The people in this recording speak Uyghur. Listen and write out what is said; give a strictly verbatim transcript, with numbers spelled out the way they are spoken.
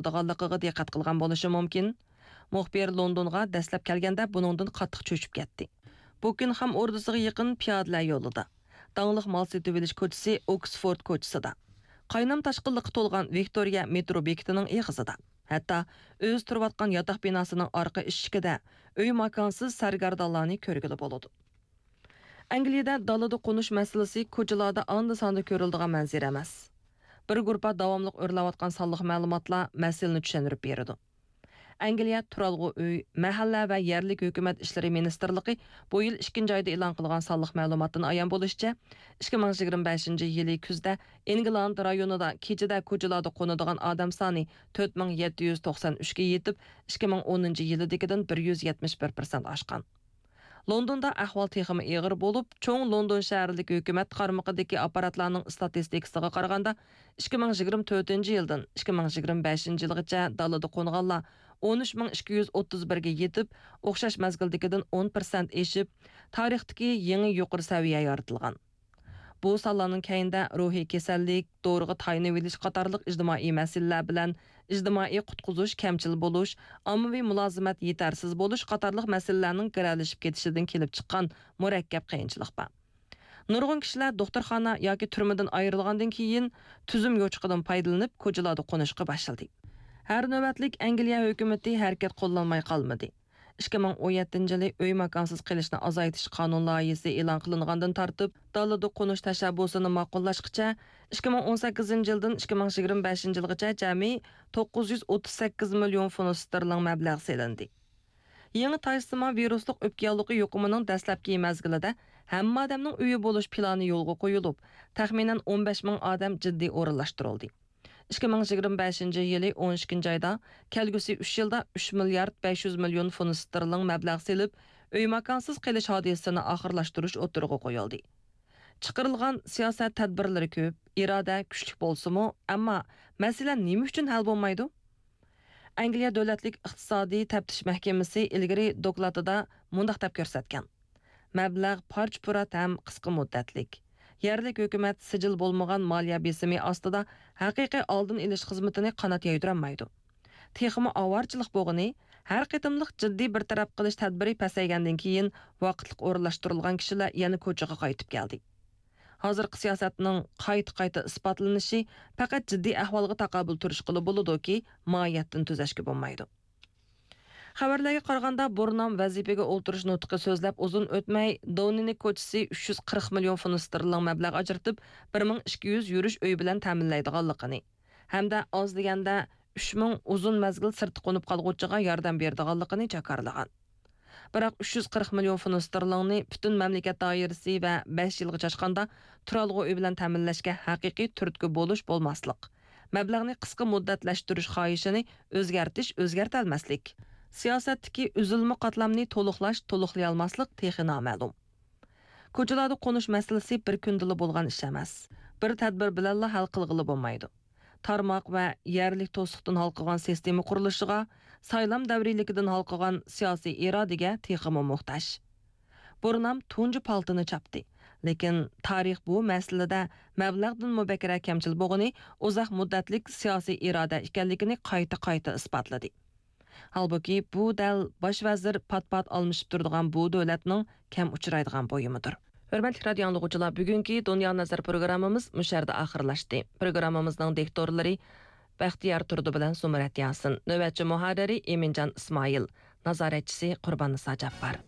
بولىدىغانلىقىغا دىققەت قىلغان بولۇشى مۇمكىن. مۇخبىر لوندونغا دەسلەپ كەلگەندە بۇنىڭدىن قاتتىق چۆچۈپ كەتتى. بۇكىنغھام ئوردىسىغا يېقىن پىيادىلەر يولىدا، داڭلىق مال سېتىۋېلىش كوچىسى ئوكسفورد كوچىسىدا، قاينام تاشقىنلىققا تولغان ۋىكتورىيە مېترو بېكىتىنىڭ ئېغىزىدا، ھەتتا ئۆزى تۇرۇۋاتقان ياتاق بىناسىنىڭ ئارقا ئىشىكىدە ئۆي ماكانسىز سەرگەردانلارنى كۆرگىلى بولىدۇ. ئەنگلىيەدە دالىدا قونۇش مەسىلىسى كوچىلاردا ئاندا-ساندا كۆرۈلىدىغان مەنزىرە ئەمەس. بىر گۇرۇپپا داۋاملىق ئۆرلەۋاتقان سانلىق مەلۇماتلار مەسىلىنى چۈشەندۈرۈپ بېرىدۇ. ئەنگلىيە تۇرالغۇ ئۆي، مەھەللە ۋە يەرلىك ھۆكۈمەت ئىشلىرى مىنىستىرلىقى بۇ يىل ئىككىنچى ئايدا ئېلان قىلغان سانلىق مەلۇماتتىن ئايان بولۇشىچە، ئىككى مىڭ يىگىرمە بەشىنچى يىلى كۈزدە ئىنگلاند رايونىدا كېچىدە كوچىلاردا قونىدىغان ئادەم سانى تۆت مىڭ يەتتە يۈز توقسان ئۈچكە يېتىپ، ئىككى مىڭ ئونىنچى يىلىدىكىدىن بىر يۈز يەتمىش بىر پىرسەنت ئاشقان. لوندوندا ئەھۋال تېخىمۇ ئېغىر بولۇپ، چوڭ لوندون شەھەرلىك ھۆكۈمەت قارمىقىدىكى ئاپپاراتلارنىڭ ئىستاتىستىكىسىغا قارىغاندا، ئىككى مىڭ يىگىرمە تۆتىنچى يىلدىن ئىككى مىڭ يىگىرمە بەشىنچى يىلغىچە دالىدا قونغانلار ئون ئۈچ مىڭ ئىككى يۈز ئوتتۇز بىرگە يېتىپ، ئوخشاش مەزگىلدىكىدىن ئون پىرسەنت ئېشىپ، تارىختىكى يېڭى يۇقىرى سەۋىيە يارىتىلغان. بۇ سانلارنىڭ كەينىدە روھىي كېسەللىك، دورىغا تايىنىۋېلىش قاتارلىق ئىجتىمائىي مەسىلىلەر بىلەن ئىجتىمائىي قۇتقۇزۇش كەمچىل بولۇش، ئاممىۋى مۇلازىمەت يېتەرسىز بولۇش قاتارلىق مەسىلىلەرنىڭ گىرەلىشىپ كېتىشىدىن كېلىپ چىققان مۇرەككەپ قىيىنچىلىق بار. نۇرغۇن كىشىلەر دوختۇرخانا ياكى تۈرمىدىن ئايرىلغاندىن كېيىن تۈزۈم يوچۇقىدىن پايدىلىنىپ، كوچىلاردا قونۇشقا باشلىدى. ھەر نۆۋەتلىك ئەنگلىيە ھۆكۈمىتى ھەرىكەت قوللانماي قالمىدى. ئىككى مىڭ ئون يەتتىنچى يىلى ئۆي ماكانسىز قېلىشنى ئازايتىش قانۇن لايىھىسى ئېلان قىلىنغاندىن تارتىپ، دالىدا قونۇش تەشەببۇسىنى ماقۇللاشقىچە، ئىككى مىڭ ئون سەككىزىنچى يىلدىن ئىككى مىڭ يىگىرمە بەشىنچى يىلغىچە جەمئىي توققۇز يۈز ئوتتۇز سەككىز مىليون فۇنت ستېرلىڭ مەبلەغ سېلىندى. يېڭى تايسىما ۋىرۇسلۇق ئۆپكە ياللۇغى يۇقۇمىنىڭ دەسلەپكى مەزگىلىدە ھەممە ئادەمنىڭ ئۆيى بولۇش پىلانى يولغا قويۇلۇپ، تەخمىنەن ئون بەش مىڭ ئادەم جىددىي ئورۇنلاشتۇرۇلدى. ئىككى مىڭ يىگىرمە بەشىنچى يىلى ئون ئىككىنچى ئايدا، كەلگۈسى ئۈچ يىلدا ئۈچ مىليارد بەش يۈز مىليون فۇنت ستېرلىڭ مەبلەغ سېلىپ، ئۆي ماكانسىز قېلىش ھادىسىسىنى ئاخىرلاشتۇرۇش ئوتتۇرىغا قويۇلدى. چىقىرىلغان سىياسەت تەدبىرلىرى كۆپ، ئىرادە كۈچلۈك بولسىمۇ، ئەمما مەسىلە نېمە ئۈچۈن ھەل بولمايدۇ؟ ئەنگلىيە دۆلەتلىك ئىقتىسادىي تەپتىش مەھكىمىسى ئىلگىرى دوكلاتىدا مۇنداق دەپ كۆرسەتكەن: مەبلەغ پارچە-پۇرات ھەم قىسقا مۇددەتلىك. يەرلىك ھۆكۈمەت سىجىل بولمىغان مالىيە بېسىمى ئاستىدا ھەقىقىي ئالدىنى ئېلىش خىزمىتىنى قانات يايدۇرالمايدۇ. تېخىمۇ ئاۋارىچىلىق بولغىنى، ھەر قېتىملىق جىددىي بىر تەرەپ قىلىش تەدبىرى پەسەيگەندىن كېيىن، ۋاقىتلىق ئورۇنلاشتۇرۇلغان كىشىلەر يەنە كوچىغا قايتىپ كەلدى. ھازىرقى سىياسەتنىڭ قايتا-قايتا ئىسپاتلىنىشى پەقەت جىددىي ئەھۋالغا تاقابىل تۇرۇشقىلا بولىدۇكى، ماھىيەتتىن تۈزەشكە بولمايدۇ. خەۋەرلەرگە قارىغاندا، بۇرنام ۋەزىپىگە ئولتۇرۇش نۇتقى سۆزلەپ ئۇزۇن ئۆتمەي، داۋنىنىڭ كوچىسى ئۈچ يۈز قىرىق مىليون فۇنت ستېرلىڭ مەبلەغ ئاجرىتىپ، بىر مىڭ ئىككى يۈز يۈرۈش ئۆي بىلەن تەمىنلەيدىغانلىقىنى ھەمدە ئاز دېگەندە ئۈچ مىڭ ئۇزۇن مەزگىل سىرتتا قونۇپ قالغۇچىغا ياردەم بېرىدىغانلىقىنى جاكارلىغان. بىراق، ئۈچ يۈز قىرىق مىليون فۇنت ستېرلىڭنى پۈتۈن مەملىكەت دائىرىسى ۋە بەش يىلغا چاچقاندا تۇرالغۇ ئۆي بىلەن تەمىنلەشكە ھەقىقىي تۈرتكە بولۇش بولماسلىق، مەبلەغنى قىسقا مۇددەتلەشتۈرۈش خاھىشىنى ئۆزگەرتىش ئۆزگەرتەلمەسلىك، سىياسەتتىكى ئۈزۈلمە قاتلامنى تولۇقلاش تولۇقلىيالماسلىق تېخى نامەلۇم. كوچىلاردا قونۇش مەسىلىسى بىر كۈندىلا بولغان ئىش ئەمەس. بىر تەدبىر بىلەنلا ھەل قىلغىلى بولمايدۇ. تارماق ۋە يەرلىك توسۇقتىن ھالقىغان سىستېما قۇرۇلۇشىغا، سايلام دەۋرىيلىكىدىن ھالقىغان سىياسىي ئىرادىگە تېخىمۇ موھتاج. بۇرنام تۇنجى پالتىنى چاپتى. لېكىن تارىخ بۇ مەسىلىدە مەبلەغدىنمۇ بەكرەك كەمچىل بولغىنى ئۇزاق مۇددەتلىك سىياسىي ئىرادە ئىكەنلىكىنى قايتا-قايتا ئىسپاتلىدى. ھالبۇكى، بۇ دەل باش ۋەزىر پات-پات ئالمىشىپ تۇرىدىغان بۇ دۆلەتنىڭ كەم ئۇچرايدىغان بۇيۇمىدۇر. ھۆرمەتلىك رادىئو ئاڭلىغۇچىلار، بۈگۈنكى دۇنيا نەزەر پروگراممىمىز مۇشۇ يەردە ئاخىرلاشتى. پروگراممىمىزنىڭ دىكتورلىرى بەختىيار تۇردى بىلەن زۇمرەت ياسىن، نۆۋەتچى مۇھەررىرى ئىمىنجان ئىسمائىل، نازارەتچىسى قۇرباننىسا جاپپار.